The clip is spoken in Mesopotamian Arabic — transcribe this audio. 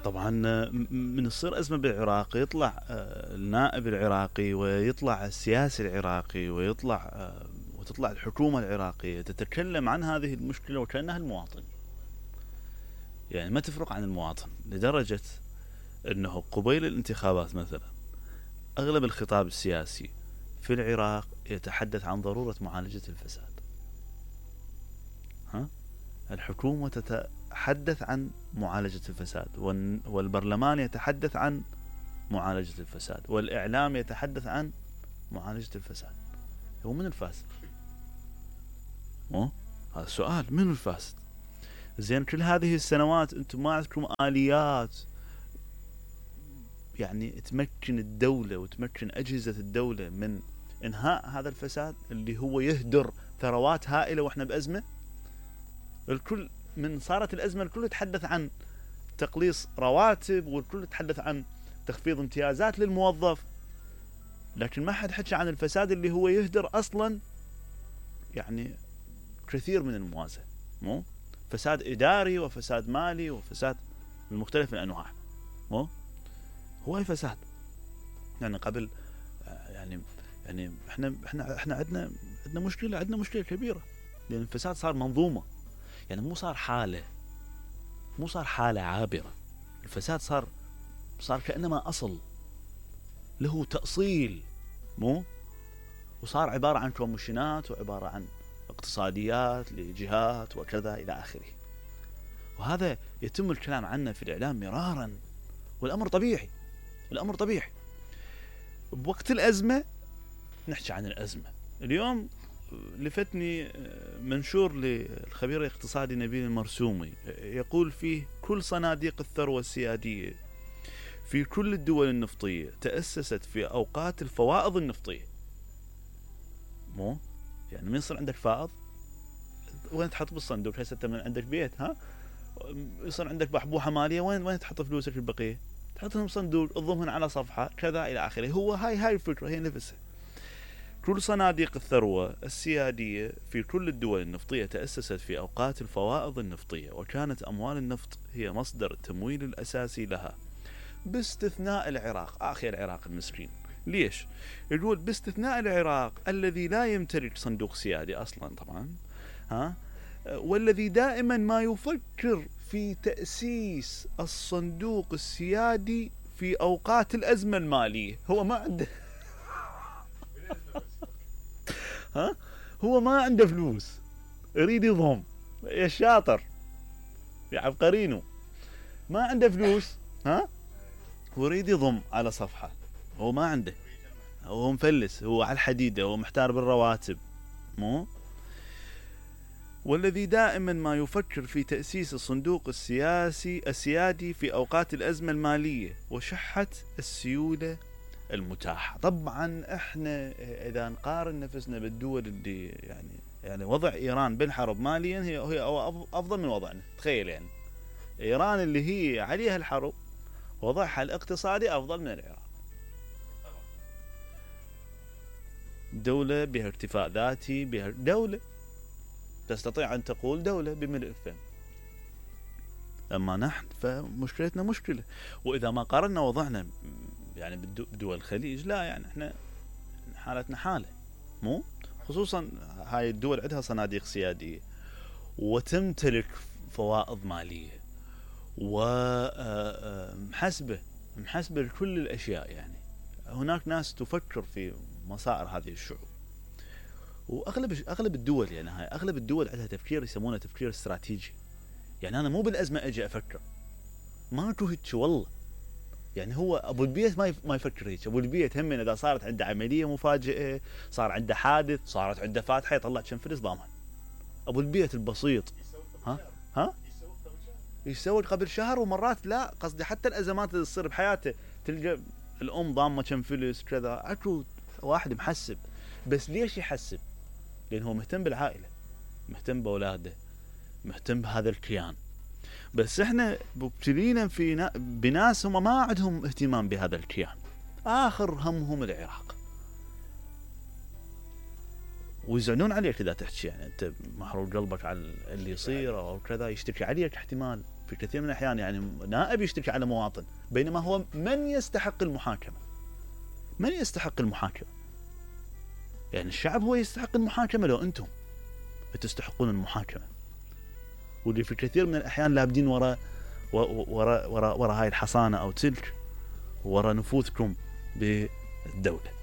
طبعا من تصير أزمة بالعراق يطلع النائب العراقي ويطلع السياسي العراقي وتطلع الحكومة العراقية تتكلم عن هذه المشكلة وكأنها المواطن، يعني ما تفرق عن المواطن، لدرجة أنه قبيل الانتخابات مثلا أغلب الخطاب السياسي في العراق يتحدث عن ضرورة معالجة الفساد. الحكومة تتحدث عن معالجة الفساد، والبرلمان يتحدث عن معالجة الفساد، والإعلام يتحدث عن معالجة الفساد. هو من الفاسد؟ هذا السؤال، من الفاسد؟ زين كل هذه السنوات انتم ما عندكم آليات يعني تمكن الدولة وتمكن أجهزة الدولة من إنهاء هذا الفساد اللي هو يهدر ثروات هائلة وإحنا بأزمة. الكل من صارت الأزمة الكل يتحدث عن تقليص رواتب، والكل يتحدث عن تخفيض امتيازات للموظف، لكن ما حد حكى عن الفساد اللي هو يهدر أصلا يعني كثير من الموازنة، مو فساد إداري وفساد مالي وفساد من مختلف الأنواع. مو هو الفساد يعني قبل يعني احنا عندنا مشكلة كبيرة، لأن الفساد صار منظومة، يعني مو صار حالة عابرة. الفساد صار كأنما أصل له تأصيل، مو وصار عبارة عن كوميشنات وعبارة عن اقتصاديات لجهات وكذا إلى آخره. وهذا يتم الكلام عنه في الإعلام مرارا، والأمر طبيعي. بوقت الأزمة نحكي عن الأزمة. اليوم لفتني منشور للخبير الاقتصادي نبيل المرسومي يقول فيه: كل صناديق الثروة السيادية في كل الدول النفطية تأسست في أوقات الفوائض النفطية. مو يعني من يصير عندك فائض وين تحط بالصندوق؟ هسه انت من عندك بيت يصير عندك بحبوحة مالية، وين تحط فلوسك البقية؟ تحطهم بصندوق، تضمهن على صفحة كذا إلى آخره. هو هاي الفكرة هي نفسها. كل صناديق الثروة السيادية في كل الدول النفطية تأسست في أوقات الفوائض النفطية، وكانت أموال النفط هي مصدر التمويل الأساسي لها باستثناء العراق. العراق المسكين. ليش؟ يقول باستثناء العراق الذي لا يمتلك صندوق سيادي أصلا طبعا، والذي دائما ما يفكر في تأسيس الصندوق السيادي في أوقات الأزمة المالية. هو ما عنده هو ما عنده فلوس، يريد يضم. يا شاطر يا عبقرينو، ما عنده فلوس ويريد يضم على صفحة. هو ما عنده، هو مفلس، هو على الحديدة، هو محتار بالرواتب. مو والذي دائما ما يفكر في تأسيس الصندوق السيادي في أوقات الأزمة المالية وشحة السيولة المتاحة. طبعا احنا اذا نقارن نفسنا بالدول اللي يعني وضع ايران بالحرب ماليا هي افضل من وضعنا. تخيل يعني ايران اللي هي عليها الحرب وضعها الاقتصادي افضل من العراق. دولة بها اكتفاء ذاتي، بها دولة تستطيع ان تقول دولة بملء فم. اما نحن فمشكلتنا مشكلة. واذا ما قارنا وضعنا يعني بدول الخليج، لا يعني احنا حالتنا حالة. مو خصوصا هاي الدول عندها صناديق سيادية وتمتلك فوائض مالية ومحسبة لكل الأشياء. يعني هناك ناس تفكر في مصائر هذه الشعوب. وأغلب الدول يعني هاي أغلب الدول عندها تفكير يسمونه تفكير استراتيجي. يعني أنا مو بالأزمة أجي أفكر، ما هيك والله. يعني هو أبو البيت ما يفكر هيك. أبو البيت هم إذا صارت عنده عملية مفاجئة، صار عنده حادث، صارت عنده فاتحة، يطلع كم فلس ضامن. أبو البيت البسيط يسوي قبل شهر، ومرات لا قصدي حتى الأزمات اللي تصير بحياته تلقى الأم ضامة كم فلس كذا. أكو واحد محسب. بس ليش يحسب؟ لأنه مهتم بالعائلة، مهتم بأولاده، مهتم بهذا الكيان. بس احنا مبتلين بناس هم ما عندهم اهتمام بهذا الكيان، آخر همهم العراق، ويزعلون عليك إذا تحكي. يعني أنت محروق قلبك على اللي يصير أو كذا، يشتكي عليك احتمال في كثير من الأحيان يعني نائب يشتكي على مواطن، بينما هو من يستحق المحاكمة؟ من يستحق المحاكمة؟ يعني الشعب هو يستحق المحاكمة لو أنتم تستحقون المحاكمة؟ واللي في كثير من الأحيان لابدين وراء هاي الحصانة أو تلك، وراء نفوذكم بالدولة.